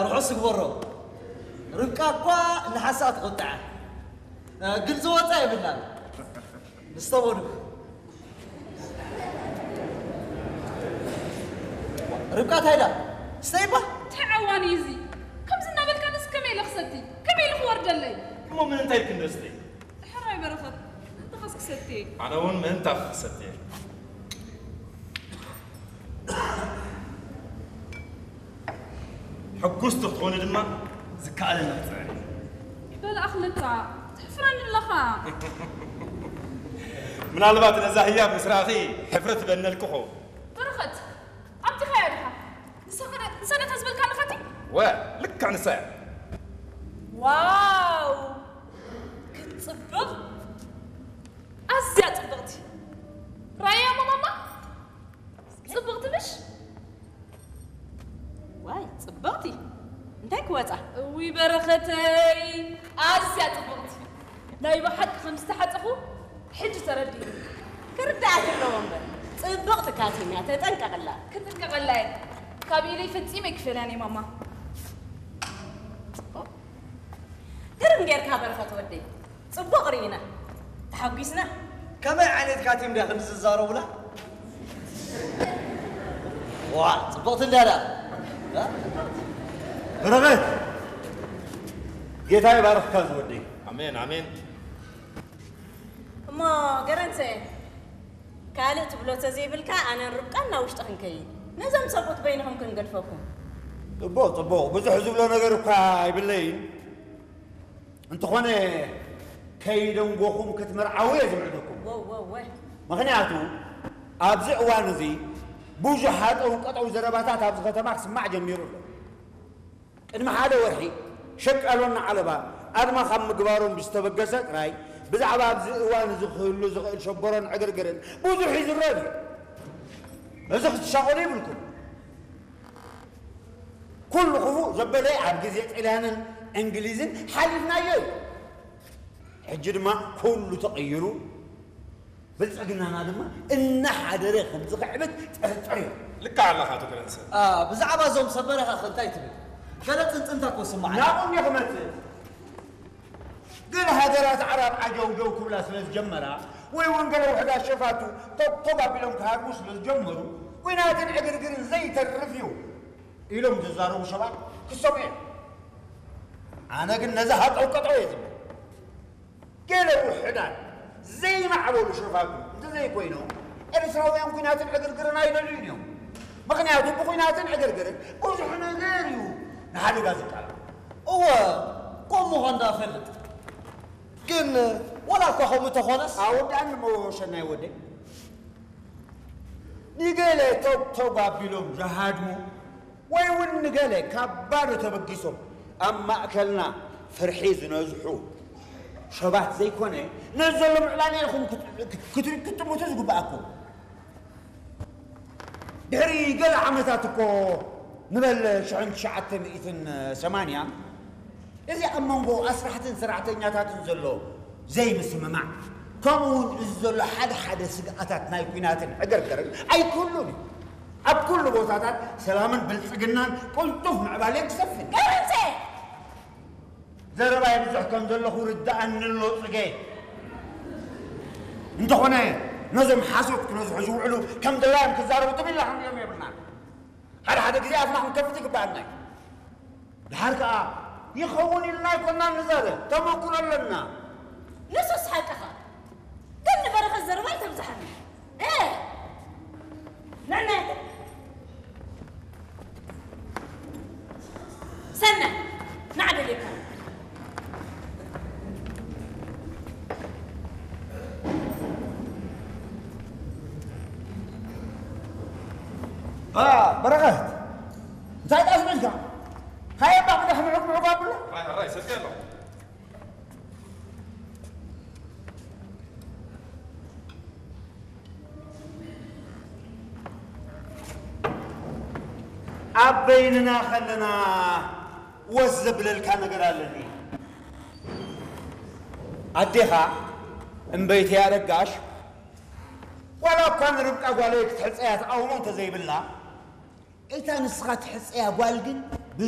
ርሑስ ግበሮ። ርብቃ እኳ ንሓሳብ ትቕጣዕ፣ ግን ዝወፃ የብላን። ንስተወሉ ርብቃ ታይዳ ስተይባ። እንታይ ዓዋን እዩ እዚ? ከምዚ እናበልካ ንስ ከመይ ኢለ ክሰቲ? ከመይ ኢሉ ክወርደለይ? እሞ ምን እንታይ ክንደስተይ? ሕራይ በረኸት፣ ምእንታኸስ ክሰትየ። ኣነ እውን ምእንታኺ ክሰትየ። ሕጉስቲ ክትኾኒ ድማ ዝከኣለኒ ክፅዕር እየ። በል ኣኽለታ፣ ተሕፍረኒ ኣለኻ። ምናልባት ነዛ ህያብ ምስ ረኣኺ ሕፍረት በነልክኹ። በረኸት፣ ኣብቲ ኸያ ዲኻ? ንሳ ኸ-፣ ንሳ ነታ ዝበልካኒ ኸቲ? ወ፣ ልክዕ ንሳ እያ። ዋው! ክትጽብቕ! ኣዝያ ጽብቕቲ! ራእያ እሞ ማማ? ጽብቕቲ ምሽ? ዋይ፣ ጽብቕቲ! እንታይ ክወጻ? እውይ በረኸተይ! ኣዝያ ጽብቕቲ! ናይ ብሓቂ ከም ዝተሓጸኹ ሕጂ ተረዲእኒ። ክርዳእ ኣለዎ እምበር፣ ጽብቕቲ ካቲም እያ፣ ተጠንቀቕላ። ክጥንቀቐላ እየ። ካብ ኢደይ ፈጺመ ኣይክፈልያን እየ ማማ። ግርም ጌርካ በረኸት ወደይ። ጽቡቕ ርኢና። ተሓጒስና። ከመይ ዓይነት ካቲም ድያ ክንዲ ዝዛረቡላ? ዋ፣ ጽብቕቲ እንድያ ደኣ። እ? በረኸት፣ ጌታ ይባርኽካ ዝወደይ። ኣሜን፣ ኣሜን። እሞ ገረንሰ፣ ካልእ ትብሎ ተዘይብልካ፣ ኣነን ርብቃን ናብ ውሽጢ ክንከይድ። ነዞም ሰብኡት በይንኹም ክንገድፈኩም። ጽቡቕ፣ ጽቡቕ። ብዙሕ ዝብሎ ነገር እኳ ኣይብለይን። እንተኾነ፣ ከይደንጎኹም ክትምርዓዉ እየ ዝምዕደኩም። ወ-፣ ወ-፣ ወ-። ምኽንያቱ፣ ኣብዚ እዋን እዚ ብዙሕ ሃጠው ቀጠው ዘረባታት ኣብዚ ከተማ ክስማዕ ጀሚሩ ኣሎ። ቅድሚ ሓደ ወርሒ፣ ሸቃሎና ዓለባ ኣድማ ካብ ምግባሮም ብዝተበገሰ ጥራይ፣ ብዛዕባ ኣብዚ እዋን እዚ ክህሉ ዝኽእል ሸበሮን ዕግርግርን ብዙሕ ይዝረብ እዩ። እዚ ክትሻቐሉ ይብልኩም። ኩሉ ክፉእ ዘበለ ኣብ ግዜ ጥልያንን እንግሊዝን ሓሊፍናዮ እዩ። ሕጂ ድማ ኩሉ ተቐይሩ፣ ብልጽግናና ድማ እናሓደረ ከም ዝኽዕብት ጥርጥር እዩ። ልክዕ ኣለኻ ኣቶ ገረንሰ። ኣ፣ ብዛዕባ እዞም ሰብ በረኻ ከ እንታይ ትብል? ገለ ጽንጽንታ እኮ ስማዕ። ናብኡ እንዲየ ክመጽእ። ገለ ሃገራት ዓረብ ዓጀውጀው ክብላ ስለ ዝጀመራ፣ ወይ እውን ገለ ውሑዳት ሸፋቱ ቶግ ቶግ ኣቢሎም ክሃርሙ ስለ ዝጀመሩ፣ ኲናትን ዕግርግርን ዘይተርፍ እዩ ኢሎም ዝዛረቡ ሰባት ክሰምዑ እዮም። ኣነ ግን ነዚ ሃጠውቀጠው እየ ዝብል። ገለ ውሑዳት ዘይማዕበሉ ሸፋቱ እንተዘይኮይኖም፣ ኤርትራውያን ኲናትን ዕግርግርን ኣይደልዩን እዮም። ምኽንያቱ ብኲናትን ዕግርግርን ብዙሕ ነገር እዩ ንሓደጋ ዝቃላዕ። እወ፣ ከምኡ ምዃኑ ደኣ እፈልጥ። ግን ዋላ እኳ ከምኡ እንተኾነስ፣ ኣወዳእኒ እሞ ሸናይ ወደይ፣ ንገለ ቶግ ቶግ ኣቢሎም ዝሃድሙ ወይ እውን ንገለ ካብ ባዶ ተበጊሶም ኣብ ማእከልና ፍርሒ ዝነዝሑ ሰባት ዘይኮነ፣ ነዚ ዘሎ ምዕባለ ኢኹም ክት-፣ ክት-፣ ክትጥምቱ ዝግብኣኩም። ድሕሪ ገለ ዓመታት እኮ፣ ንበል ሽሕን ትሽዓተ ሚእትን ሰማንያ፣ እዚ ኣብ መንጎ ኣስራሕትን ሰራሕተኛታትን ዘሎ ዘይምስምማዕ፣ ከምኡ እውን እዚ ዘሎ ሓደ ሓደ ስግኣታት ናይ ኲናትን ዕግርግርን ኣይክህሉን እዩ። ኣብ ኩሉ ቦታታት ሰላምን ብልጽግናን ቅልጡፍ ምዕባለን ክሰፍን። ገረንሰ! ዘረባይ ብዙሕ ከም ዘለኹ ርድኣኒ ኣሎ ጽጌ። እንተኾነ ነዞም ሓሶት ክነዝሑ ዝውዕሉ ከም ድላዮም ክዛረቡ ትም ኢልና ክንሪኦም የብልናን። ሓደ ሓደ ግዜ ኣፍና ክንከፍት ይግብኣና እዩ። ድሓር ከኣ ይኸውን ኢልና ኣይኮናን ንዛረብ፣ ተመኩሮ ኣለና። ንሱስ ሓቅኻ። ግን ንበረኸት ዘረባ ኣይተብዝሓኒ። እ! ንዕና ሰነ፣ ንዓ ደልየካ። ኣ፣ በረኸት፣ እንታይ ደኣ ዝብልካ? ሃየ እባ ቅዳሕ ምዑግ ምዑግ ኣብሎ። ራይ፣ ራይ፣ ሰልኪ ኣሎ። ኣብ በይንና ከለና ወስ ዘብለልካ ነገር ኣለኒ። ኣዴኻ እምበይተይ ኣረጋሽ፣ ዋላ እኳ ንርብቃ ጓለይ ክትሕጸያ ተቓውሞ እንተዘይብላ፣ እታ ንስኻ ትሕጸያ ጓል ግን